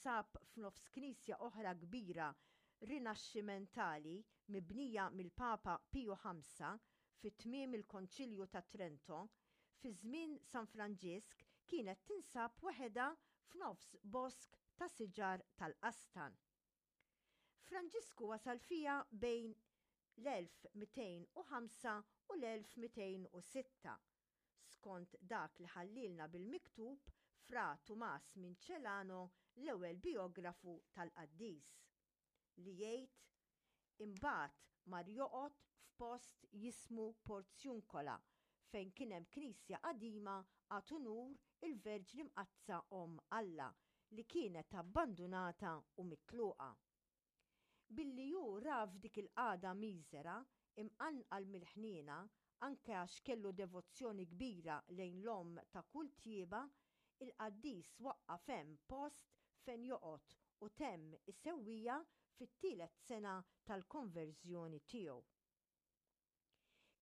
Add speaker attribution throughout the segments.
Speaker 1: Tinsab f'nofs knisja oħra kbira Rinaxximentali mibnija mill-Papa Piju Ħamsa fi tmiem il-Konċilju ta' Trento, fi żmien San Franġisk kienet tinsab waħedha f'nofs bosk ta' siġar tal-qastan. Franġisku wasal fiha bejn l-1205 u l-1206 skont dak li ħallielna bil-miktub Fra Tumas minn Celano l-ewwel bijografu tal-qaddis, li jgħid, Imbagħad mar joqgħod f'post jismu Porziuncola fejn kien hemm knisja qadima għad unur il-Verġni Mqaddsa Omm Alla li kienet abbandunata u mitluqa. Billi hu ra f'dik il-qagħda miżera, imqanqal mill-ħniena, anke għax kellu devozzjoni kbira lejn l-Omm ta' kull tjieba, il-qaddis waqqaf hemm post fejn joqgħod u temm isewwiha fit-tielet sena tal-konverżjoni tiegħu.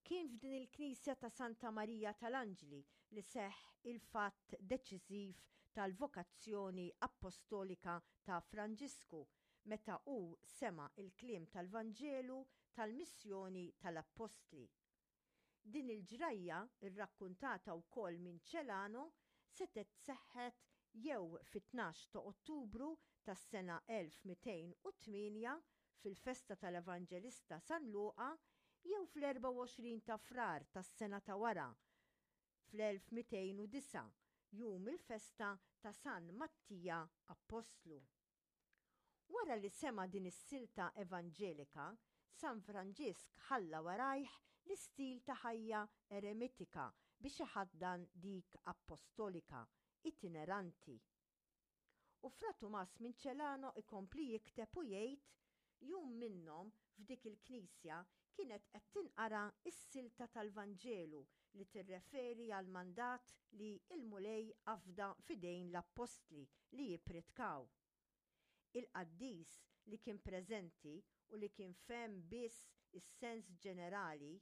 Speaker 1: Kien f'din il-knisja ta' Santa Marija tal-Anġli li seħħ il-fatt deċiżiv tal-vokazzjoni appostolika ta' Franġisku meta hu sema' l-kliem tal-Vanġelu tal-missjoni tal-Appostli. Din il-ġrajja, rrakkuntata wkoll minn Celano, setgħet seħħet jew fit-tnax ta' Ottubru tas-sena 1208 fil-festa tal-Evanġelista San Luqa jew fl-24 ta' Frar tas-sena ta' wara, fl-1209, jum il-festa ta' San Mattija Appostlu. Wara li sema' din is-silta evanġelika, San Franġisk ħalla warajh l-istil ta' ħajja eremitika biex iħaddan dik appostolika, itineranti. U Fra Tumas minn Celano ikompli jikteb u jgħid, Jum minnhom, f'dik il-knisja, kienet qed tinqara s-silta tal-Vanġelu li tirreferi għall-mandat li l-Mulej afda f'idejn l-appostli li jippritkaw. Il-qaddis li kien preżenti u li kien fehem biss is-sens ġenerali,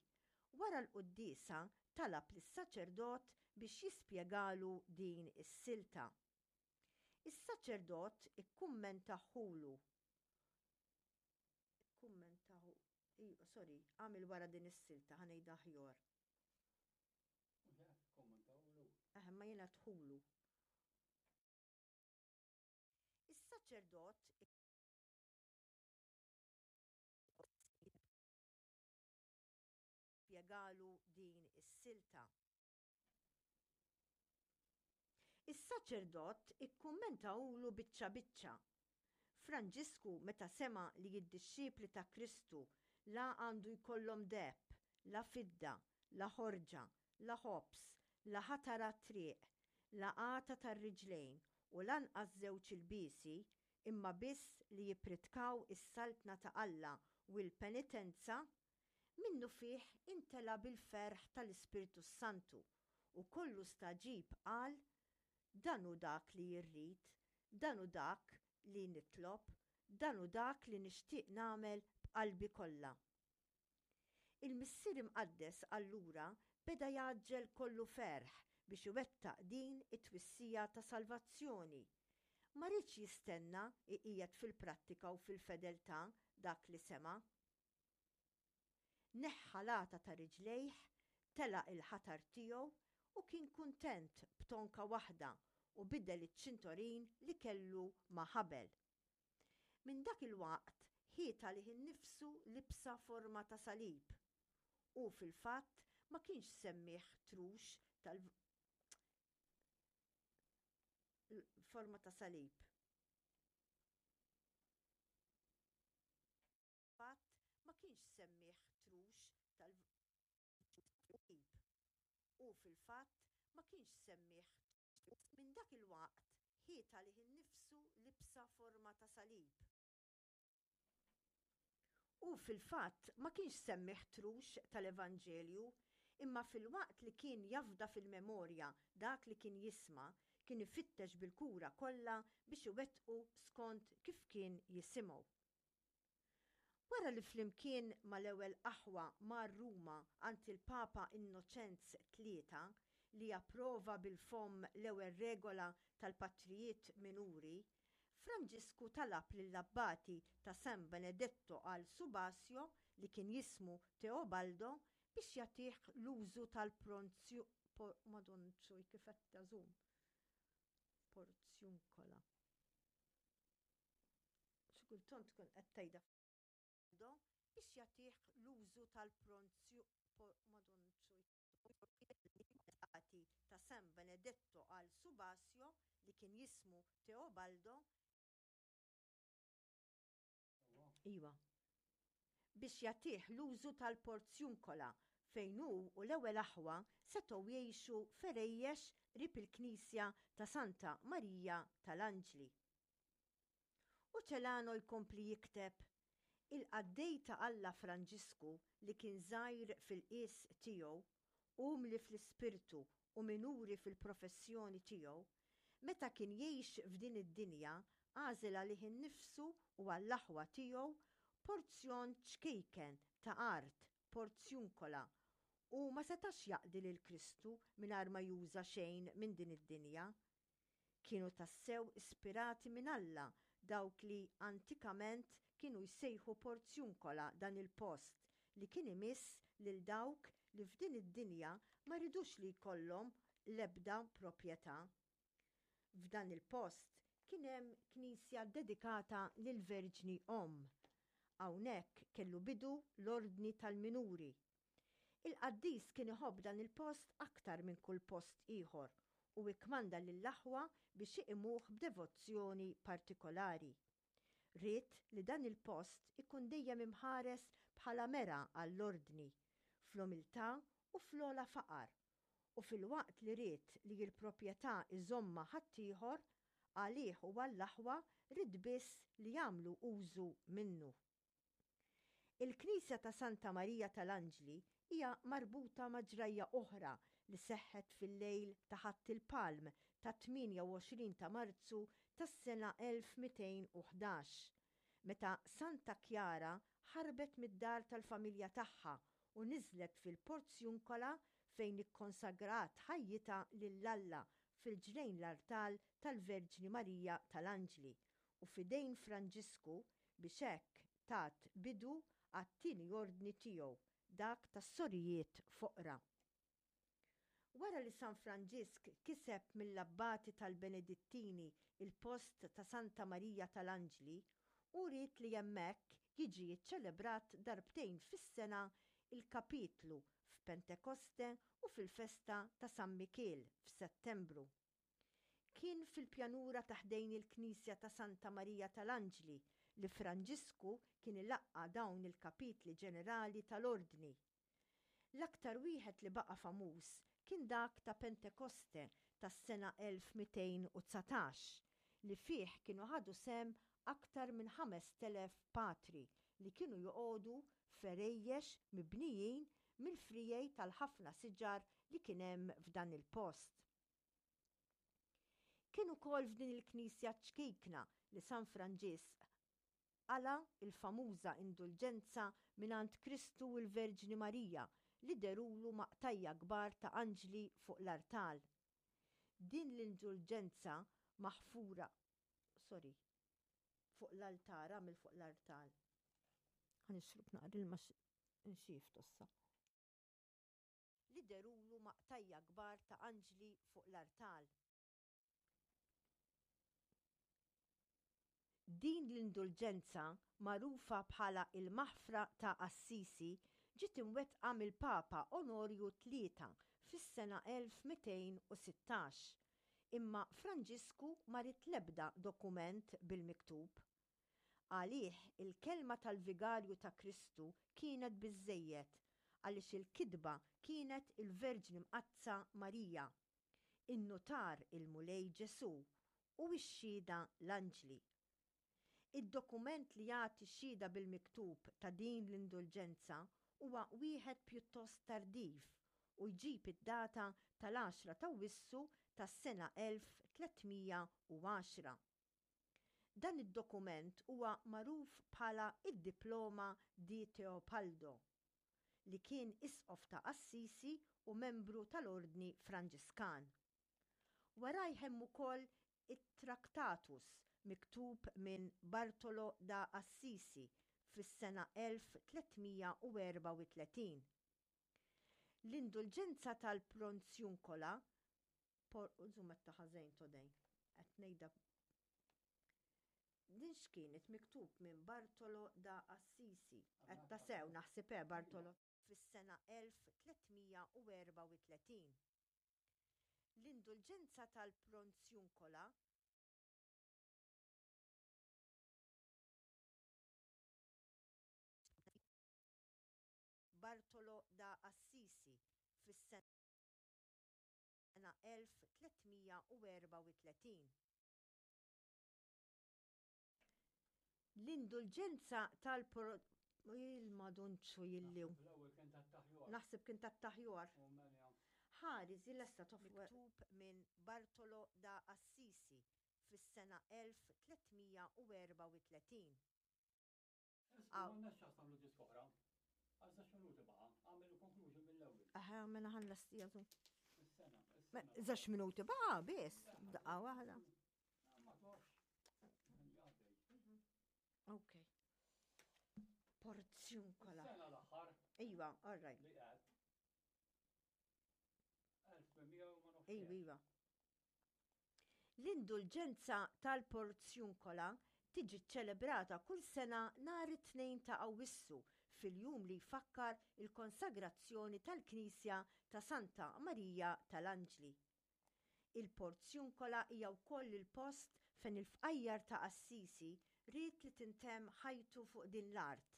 Speaker 1: wara l-quddiesa talab lis-saċerdot biex jispjegalu din is-silta. Is-saċerdot ikkummentahulu. Ikkummentahu, sorry, għamil wara din is-silta ħa ngħidha aħjar. Eh, ma jiena tħulu. Is-saċerdot spjegalu din is-silta. Is-saċerdot ikkummentahulu biċċa biċċa. Franġisku meta sema' li d-dixxipli ta' Kristu la għandu jkollhom deheb, la fidda, la ħorġa, la ħobż, la ħatar għat-triq, la għata tar-riġlejn u lanqas żewġ ilbiesi, imma biss li jippritkaw is-Saltna ta' Alla u l-penitenza, Minnufih imtela bil-ferħ tal-Ispirtu s-Santu u kollu stagħġib qal, Dan hu dak li irrid, dan hu dak li nitlob, dan hu dak li nixtieq nagħmel b'qalbi kollha. Il-Missier Imqaddes allura beda jgħaġġel kollu ferħ biex iwettaq din it-twissija ta' salvazzjoni. Ma riedx jistenna jqiegħed fil-prattika u fil-fedeltà dak li sema'. Neħħa l-għata ta' riġlejh, telaq il-ħatar tiegħu u kien kuntent b'tonka waħda u bidel iċ-ċintorin li kellu ma' ħabel. Minn dak il-waqt ħiet għalih innifsu libsa forma ta' salib. Hu fil-fatt ma kienx semmieh trux tal forma ta' salib. Fatt ma kienx semmieh trux tal Ib. Hu fil-fatt ma kienx semmieh Minn dak il-waqt ħiet għalih innifsu libsa forma ta' salib. Hu fil-fatt ma kienx semmieh trux tal-Evanġelju, imma filwaqt li kien jafda fil-memorja dak li kien jisma', kien ifittex bil-kura kollha biex iwettqu skont kif kien jisimgħu. Wara li flimkien mal-ewwel aħwa mar Ruma għand il-Papa Innoċenz Tlieta li approva bil-fomm l-ewwel regola tal-patrijiet minuri, Franġisku talab lill-abbati ta' San Benedetto al Subasio li kien jismu Teobaldo biex jagħtih l-użu tal-pronzju Madonċuj kif qed tażum porzjunkola. Xi kultant tkun qed tgħidha biex jagħtih l-użu tal-pronzju Madonċuj ta' San Benedetto al Subasio li kien jismu Teobaldo Iwa. Biex jagħtih l-użu tal-Porzjunkola fejn hu u l-ewwel aħwa setgħu jgħixu f'għerejjex qrib il-knisja ta' Santa Marija tal-Anġli. U Celano jkompli jikteb, Il-qaddej ta' Alla Franġisku li kien żgħir fil-qies tiegħu, umli fl-ispirtu u minuri fil-professjoni tiegħu, meta kien jgħix f'din id-dinja għażel għalih innifsu u għall-aħwa tiegħu porzjon ċkejken ta' art, porzjunkola, u ma setax jaqdi lil Kristu mingħajr ma juża xejn minn din id-dinja. Kienu tassew ispirati minn Alla dawk li antikament kienu jsejħu Porzjunkola dan il-post li kien imiss lil dawk li f'din id-dinja ma ridux li jkollhom l-ebda proprjetà. F'dan il-post kien hemm knisja ddedikata lill-Verġni Omm. Hawnhekk kellu bidu l-Ordni tal-Minuri. Il-qaddis kien iħobb dan il-post aktar minn kull post ieħor u ikkmanda lill-aħwa biex iqimuh b'devozzjoni partikolari. Ried li dan il-post ikun dejjem imħares bħala mera għall-Ordni, fl-umiltà u fl-ogħla faqar, u filwaqt li ried li l-proprjetà iżommha ħaddieħor, għalih u għall-aħwa ried biss li jagħmlu użu minnu. Il-knisja ta' Santa Marija tal-Anġli hija marbuta ma' ġrajja oħra li seħħet fil-lejl ta' Ħadd il-Palm tat-28 ta' Marzu tas-sena 1211, meta Santa Kjara ħarbet mid-dar tal-familja tagħha u niżlet fil-Porzjunkola fejn ikkonsagrat ħajjitha lil Alla fil-ġnejn l-artal tal-Verġni Marija tal-Anġli u f'idejn Franġisku biex hekk tat bidu għat-tieni ordni tiegħu, dak tas-sorijiet foqra. Wara li San Franġisk kiseb mill-abbati tal-Benedittini il-post ta' Santa Marija tal-Anġli, hu ried li hemmhekk jiġi ċċelebrat darbtejn fis-sena il-kapitlu f'Pentekoste u fil-festa ta' San Mikiel f'Settembru. Kien fil-pjanura ta' ħdejn il-knisja ta' Santa Marija tal-Anġli li Franġisku kien ilaqqa' dawn il-kapitli ġenerali tal-Ordni. L-aktar wieħed li baqa' famuż kien dak ta' Pentekoste tas-sena 1219 li fih kienu ħadu sehem aktar minn 5,000 patri li kienu joqogħdu f'għerejjex mibnijin mill-friegħi tal-ħafna siġar li kien hemm f'dan il-post. Kien ukoll f'din il-knisja ċkejkna li San Franġisk qala' l-famuża indulġenza mingħand Kristu u l-Verġni Marija li dherulu ma' qtajja' kbar ta' anġli fuq l-artal. Din l-indulġenza maħfura, sorry, fuq l-altar, għamil fuq l-artal. Ħa nixrob naqra ilma nxief tossa. Li dherulu ma' qtajja' kbar ta' anġli fuq l-artal. Din l-indulġenza, magħrufa bħala il-Maħfra ta' Assisi, ġiet imwettqa mill-Papa Onorju Tlieta fis-sena 1216. Imma Franġisku ma ried l-ebda dokument bil-miktub. Għalih il-kelma tal-Vigarju ta' Kristu kienet biżżejjed, għaliex il-kitba kienet il-Verġni Mqaddsa Marija, in-nutar il-Mulej Ġesù u x-xhieda l-anġli. Id-dokument li jagħti xhieda bil-miktub ta' din l-indulġenza huwa wieħed pjuttost tardiv u jġib id-data tal-għaxra t'Awwissu tas-sena 1310. Dan id-dokument huwa magħruf bħala d-Diploma di Teopaldo, li kien isqof ta' Assisi u membru tal-Ordni Franġiskan. Warajh hemm ukoll it-Tractatus miktub minn Bartolo da Assisi fis-sena 1334. L-indulġenza tal-Pronzjunkola Por żum qed ta' ħażejn today. Qed ngħidha Din x'kienet miktub minn Bartolo da Assisi. Qed ta' sew naħseb eh Bartolo fis-sena 1334. L-indulġenza tal-Pronzjunkola Bartolo da Assisi fis-sena 1334. L-indulġenza tal-pro il-madunċu jilli. Naħseb kien tat-taħjor. Ħares il-lesta Miktub minn Bartolo da Assisi fis-sena 1334.
Speaker 2: Isma' m'għandnax ċans nagħmlu disk oħra. Għal żewġ minuti baqa', għamel il-conclusion mill-ewwel.
Speaker 1: Aha, mela ħan lestija tu.
Speaker 2: Is-sena.
Speaker 1: Żewġ minuti baqa' biss, daqqa waħda.
Speaker 2: Ma tafx.
Speaker 1: Ok. Porzjunkola.
Speaker 2: Sena l-aħħar.
Speaker 1: Iva, all right.
Speaker 2: Li qed. 1800 ma nafx.
Speaker 1: Iva, iva. L-Indulġenza tal-Porzjunkola tiġi ċċelebrata kull sena nhar it-Tnejn ta' Awwissu fil-jum li jfakkar il-konsagrazzjoni tal-Knisja ta' Santa Marija tal-Anġli. Il-Porzjunkola hija wkoll il-post fejn il-fqajjar ta' Assisi ried li tintemm ħajtu fuq din l-art.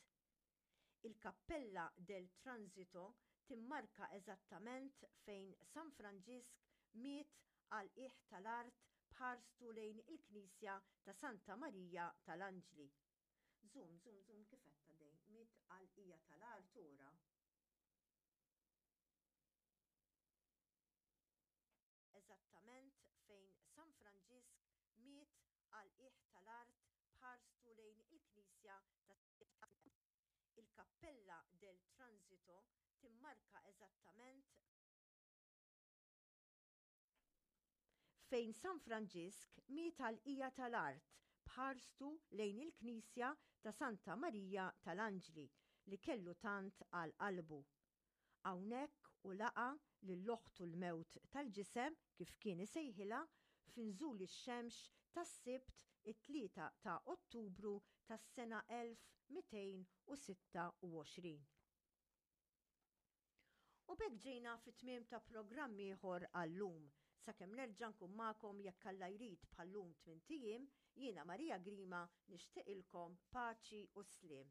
Speaker 1: Il-Kappella del Transito timmarka eżattament fejn San Franġisk miet għal qiegħ tal-art b'ħarstu lejn il-knisja ta' Santa Marija tal-Anġli. Żum, żum, żum kif għedtha dejn, miet għal qiegħa tal-art ora. Eżattament fejn San Franġisk miet għal qiegħ tal-art b'ħarstu lejn il-knisja ta' Il-Kappella del Transito timmarka eżattament fejn San Franġisk miet għal qiegħa tal-art b'ħarstu lejn il-knisja ta' Santa Marija tal-Anġli li kellu tant għal qalbu. Hawnhekk hu laqa' lil oħtu l-mewt tal-ġisem, kif kien isejħilha, f'inżul ix-xemx tas-Sibt it-3 ta' Ottubru tas-sena 1226. U b'hekk ġejna fit-tmiem ta' programm ieħor għal-lum. Sakemm nerġa' nkun magħkom jekk Alla jrid bħal-lum tmint ijiem, jiena Maria Grima nixtieqilkom paċi u sliem.